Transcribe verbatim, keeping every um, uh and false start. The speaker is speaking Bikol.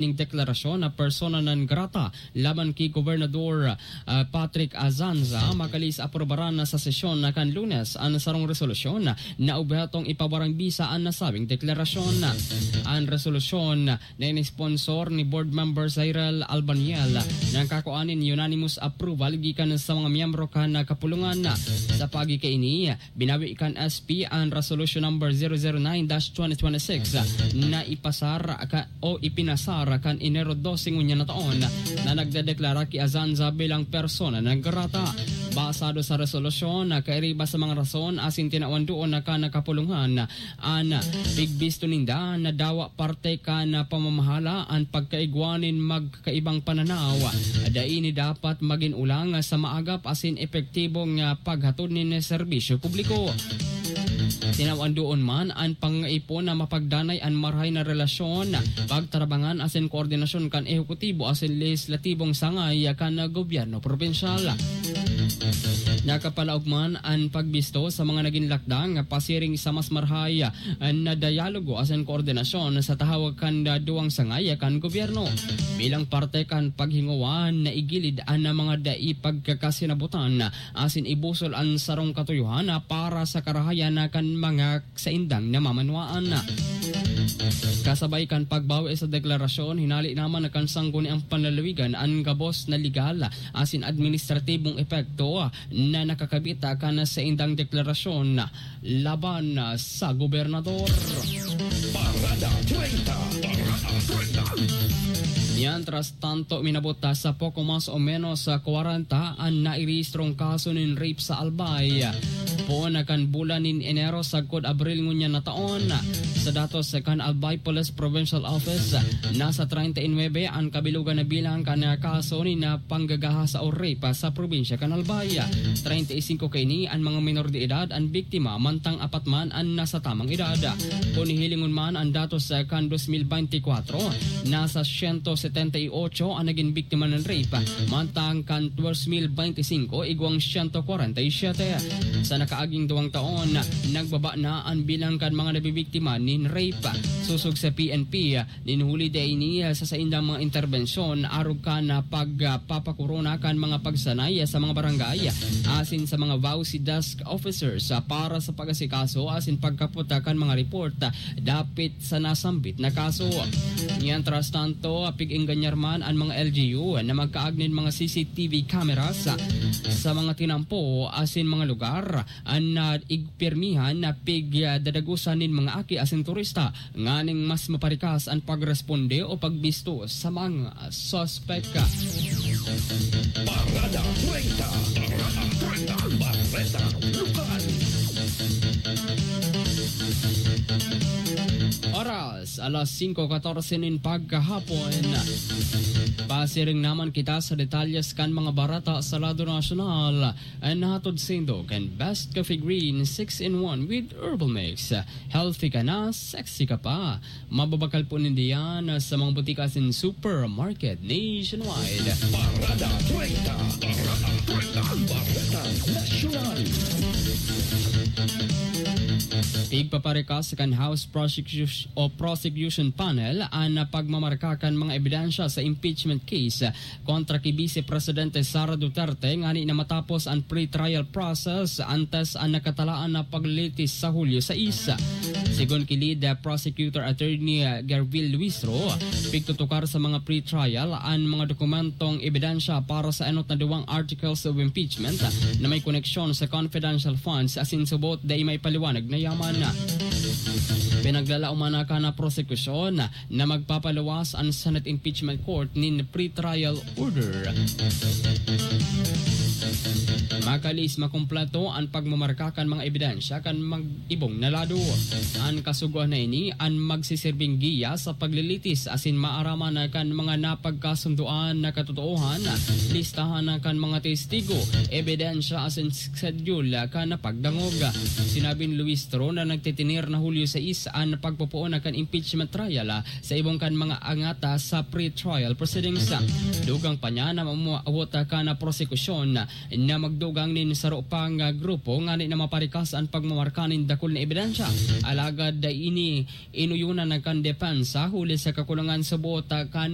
ning deklarasyon na persona non grata laban ki Gobernador, ah, Patrick Azanza, makalihis aprobaran na sa sesyon na kan Lunes an sarong resolusyon na obhetong ipabarang bisa an nasabing deklarasyon. An resolusyon na in-sponsor ni Board Member Zairel Albaniel, nangkakua nin unanimous approval gikan sa mga miyembro kan kapulungan. Sa paagi kaini, binawi kan S P an Resolution Number zero zero nine dash twenty twenty-six na ipasar ka, o ipinasar kan Enero dose ngunyan na taon na nagdedeklara ki Azanza bilang persona non grata. Basado sa resolusyon, kairiba sa mga rason asin tinawan doon na kan kapulungan an pigbisto ninda na dawa parte kan pamamahala an pagkaigwa nin magkaibang pananaw. Dai ini dapat magin ulang sa maagap asin epektibong, ah, paghatod nin serbisyo publiko. Tinawan doon man an pangaipon na mapagdanay an marahay na relasyon, pagtarabangan asin koordinasyon kan ehekutibo asin lehislatibong sangay kan gobyerno probinsyal. Nakapalaog man an pagbisto sa mga nagin lakdang pasiring sa mas marahay na dialogo asin koordinasyon sa tahawag kan duwang sangay kan gobyerno. Bilang parte kan paghingowa, naigilid an mga dai pagkakasinabutan asin ibusol an sarong katuyohan para sa karahayan kan mga saindang namamanwaan. Kasabay kan pagbawi sa deklarasyon, hinali naman na kan sangguniang panlalawigan an gabos na legal asin administratibong epekto na nakakabit kan saindang deklarasyon laban sa gobernador. Parada treinta. Parada treinta. Mientras tanto, minabot sa poko mas o menos sa kwarenta an nairehistrong kaso nin rape sa Albay. Poon na kan bulan nin Enero sagkod Abril ngunyan na taon. Sa datos kan Albay Police Provincial Office, nasa treinta y nuebe an kabilugan na bilang kan kaso nin panggagahasa o rape sa probinsya kan Albay. Treinta y cinco kaini an mga minor de edad an biktima, mantang apat man an nasa tamang edad. Kun hihilingon man an datos kan dos mil beintikwatro, nasa siyento setenta y otso an nagin biktima nin rape, mantang kan dos mil beintisinko, igwang siyento kwarenta y siyete. Sa nakaaging duwang taon, nagbaba na an bilang kan mga nabibiktima nin rape. Sosog sa P N P, nin huli dai ini sa saindang mga interbensyon arog kan pagpapakorona kan mga pagsanay sa mga barangay asin sa mga VAWC desk officers para sa pag-asikaso asin pagkapot kan mga report dapit sa nasambit na kaso. Mientras tanto, pig-engganyar man an mga L G U na magkaag nin mga C C T V cameras sa mga tinampo asin mga lugar an, ah, igpirmihan na pigdadagosan nin mga aki asin turista nganing mas maparikas an pagresponde o pagbisto sa mga suspek. Parada treinta. Parada treinta. Bareta Lokal. Oras, alas singko katorse nin pagkahapon. Pasiring naman kita sa detalyes kan mga bareta sa lado nasyonal. An nahatod saindo kan Best Coffee Green six in one with Herbal Mix. Healthy ka na, sexy ka pa. Mababakal po ninda yan sa mga butika asin supermarket nationwide. Parada treinta. Parada treinta. Bareta Nasyonal. Igpaparikas kan House Prosecution o Prosecution Panel an pagmamarka kan mga ebidensya sa impeachment case kontra ki Vice Presidente Sara Duterte ngani na matapos an pre-trial process antes an nakatalaan na paglilitis sa Hulyo sais. Sigon ki Lead Prosecutor Attorney Gervil Luistro, pigtutukar sa mga pre-trial an mga dokumentong ebidensya para sa enot na duwang articles of impeachment na may koneksyon sa confidential funds asin subot dai maipaliwanag na yaman. Pinaglalaoman na kan prosekusyon na magpapaluwas an Senate Impeachment Court nin pre-trial order. Makalihis makumpleto an pagmamarka kan mga ebidensya kan mag-ibong na lado. An kasugoan na ini an magsisirbing giya sa paglilitis asin maaraman na kan mga napagkasundoan na katotoohan, listahan na kan mga testigo, ebidensya asin schedule kan pagdangog. Sinabi ni Luistro na nagtitinir na Hulyo sais an pagpopoon na kan impeachment trial sa ibong kan mga angat sa pre-trial proceedings. Dugang pa niya na mamuawot kan prosekusyon na magdugang nin saro pang grupo ngani na maparikas an pagmamarka nin dakul na ebidensya. Alagad dai ini inuyonan na kan depensa huli sa kakulangan sa buot kan